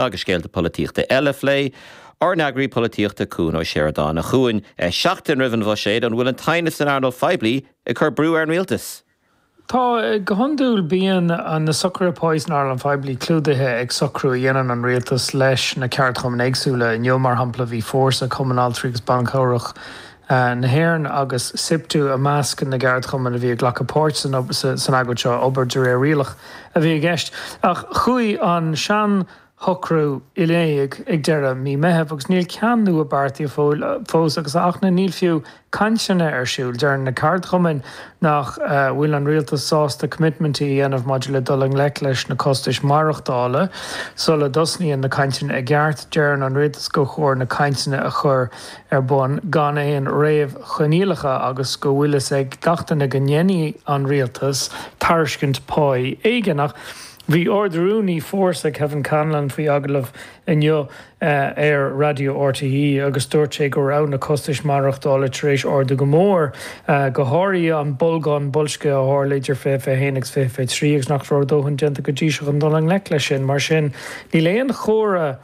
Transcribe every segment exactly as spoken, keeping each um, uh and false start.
Agus scéalta polaitíochta eile a phlé, ár n-eagraí polaitíochta Cuan Ó Seireadáin. A Chuain, seachtain roimh an bhuiséad, an bhfuil an t-aighneas san earnáil phoiblí ag cur brú ar an rialtas? Tá, go hiondúil bíonn na socruithe páí san earnáil phoiblí clúdaithe ag socrú a dhéanann an rialtas leis na ceardchumainn éagsúla. Inniu, mar shampla, bhí Fórsa, Cumann Altraí agus Ban Cabhrach na hÉireann agus Siptu i measc na gceardchumann a bhí ag glacadh páirt san agóid seo, obair de réir rialach a bhí i gceist. Ach chuaigh an sean shocrú i léig ag deireadh mí Meitheamh agus níl ceann nua beartaithe fós agus ach níl fiú cainteanna ar siúl. Deir na ceardchumainn nach bhfuil an rialtas sásta coimitmintí a dhéanamh maidir le dul i ngleic leis na costais maireachtála sula dtosnaíonn na cainteanna i gceart. Deireann an rialtas gur chóir na cainteanna a chur ar bun gan aon réamhchoinníollacha agus go bhfuil fhios ag gach duine go ndéanfaidh an rialtas tairiscint páí éigin. Ach bhí Ard-Rúnaí Fórsa Kevin Conlon faoi agallamh inniu ar Raidió RTÉ agus dúirt sé go raibh na costais maireachtála tar éis ardú go mór, go háirithe an bolgán boilscithe a tharla idir fiche fiche haon agus fiche fiche trí agus nach raibh a dóthain déanta go dtí seo chun dul i ngleic leis sin. Mar sin, níl aon chomhartha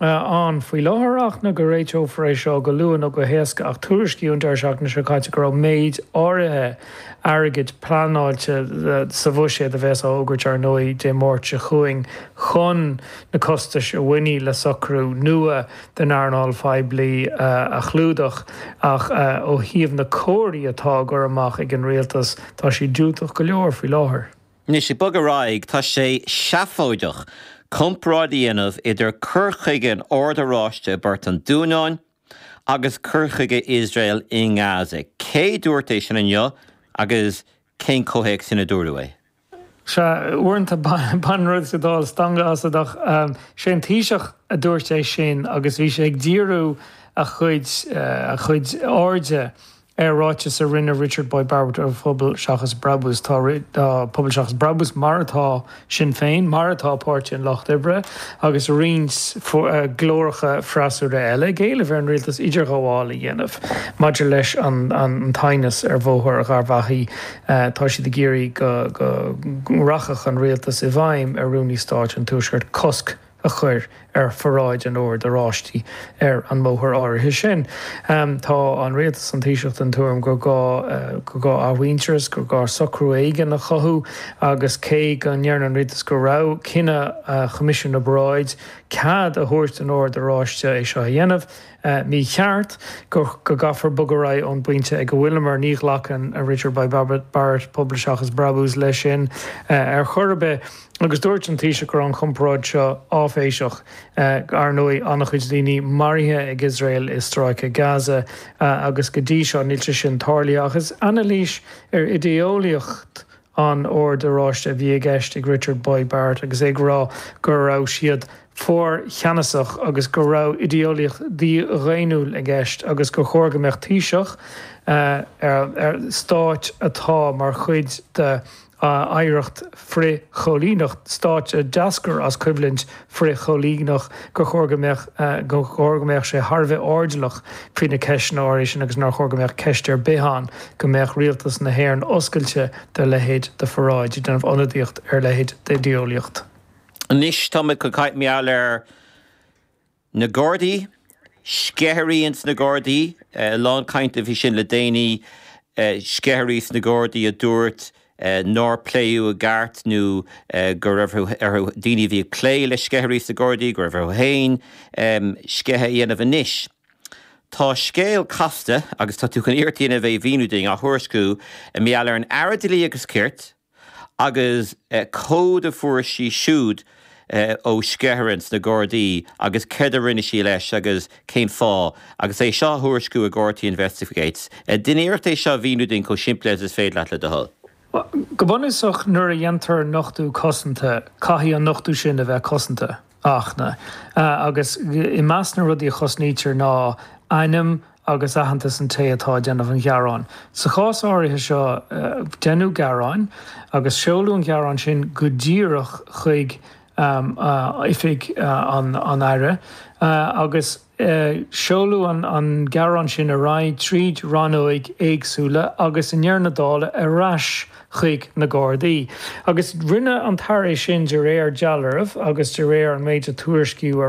ann faoi láthair ach ná go réiteofar é seo go luath nó go héasca ach tuairiscíodh an deireadh seachtaine seo caite go raibh méid áirithe airgid pleanáilte sa bhuiséad a bheas á fhógairt ar ndóigh Dé Máirt seo chugainn chun na costais a bhainfidh le socrú nua den earnáil phoiblí a chlúdach ach ó thaobh na comharthaí atá á gcur amach ag an rialtas tá siad diúltach go leor faoi láthair. Anois ag bogadh ar aghaidh, tá sé seafóideach comparáid a dhéanamh idir cur chuige an Oird Oráiste i bPort an Dúnáin agus cur chuige Iosrael i nGaza. Cé dúirt é sin inniu agus cén comhthéacs ina dúradh é? Sea, uaireanta baineann rud sa Dáil stangadh asat ach sé an Taoiseach a dúirt é sin agus bhí sé ag díriú a chuid a chuid airde ar ráiteas a rinne Richard Boyd Barrett ó Phobal Seachas Brabús. Tá Pobal Seachas Brabús, mar atá Sinn Féin, mar atá Páirtí an Lucht Oibre agus roinnt glóracha freasúra eile, ag éileamh ar an rialtas idirghabháil a dhéanamh maidir leis an t-aighneas ar Bhóthar Gharbhachaidh. Tá siad ag iarraidh go rachadh an rialtas i bhfeidhm ar Rúnaí Stáit an Tuaiscirt cosc a chur ar pharáid an Oird Oráistigh ar an mbóthar áirithe sin. Tá an rialtas, an Taoiseach, den tuairim gur gá gur gá athmhuintearas, gur gá socrú éigin a chothú agus cé go ndeireann an rialtas go raibh cinneadh Choimisiún na bParáidí cead a thabhairt don Ord Oráiste é seo a dhéanamh, mícheart, go gcaithfear bogadh ar aghaidh ón bpointe ag a bhfuileamar. Ní ghlacann Richard Boyd Barrett, Pobal Seachas Brabús, leis sin ar chor ar bith. Agus dúirt an Taoiseach go raibh an chomparáid seo áiféiseach. Ar ndóigh, an-chuid daoine maraithe ag Iosrael i stráice Gaza agus go dtí seo níl sé sin tarlaithe. Ach is anailís ar idé-eolaíocht an Oird Oráiste a bhí i gceist ag Richard Boyd Barrett agus é ag rá go raibh siad fíorcheannasach agus go raibh idé-eolaíocht dhídhaonnúil i gceist agus gur chóir go mbeadh Taoiseach ar stáit atá mar chuid de oidhreacht frith-choilíneach, stáit a d'eascair as coimhlint frith-choilíneach, gur chóir go mbeadh gur chóir go mbeadh sé thar a bheith airdeallach faoi na ceisteanna áirithe sin agus nár chóir go mbeadh ceist ar bith ann go mbeadh rialtas na hÉireann oscailte do leithéid de pharáid, ag déanamh ionadaíocht ar leithéid d'idé-eolaíocht. Anois táimid chun caint mar gheall ar na Gardaí, sceithirí ins na Gardaí, a lán cainte faoi sin le déanaí, sceithirí sna Gardaí a dúirt nár pléadh i gceart nó go raibh orthu, daoine a bhí ag plé le sceithirí sna Gardaí, go raibh orthu féin sceitheadh a dhéanamh. Anois tá scéal casta, agus tá tú chun iarracht a dhéanamh é a mhíniú dúinn, á thuairisciú mar gheall ar an Aire Dlí agus Cirt, agus comhad a fuair sí siúd ó sceithire ins na Gardaí agus céard a rinne sí leis agus cén fáth, agus é seo á thuairisciú ag RTÉ Investigates. Déan iarracht é seo a mhíniú dúinn chomh simplí agus is féidir leat, le do thoil. Go bunúsach, nuair a dhéantar nochtadh cosanta, caithfidh an nochtadh sin a bheith cosanta, Fhachtna. Agus i measc na rudaí a chosnaítear ná ainm agus aitheantas an té atá ag déanamh an ghearáin. Sa chás áirithe seo, deineadh gearán agus seoladh an gearán sin go díreach chuig oifig an Aire agus seoladh an gearán sin ar aghaidh tríd rannóig éagsúla agus i ndeireadh na dála ar ais chuig na Gardaí. Agus rinne an tAire sin de réir dealraimh agus de réir an méid a tuairiscíodh ar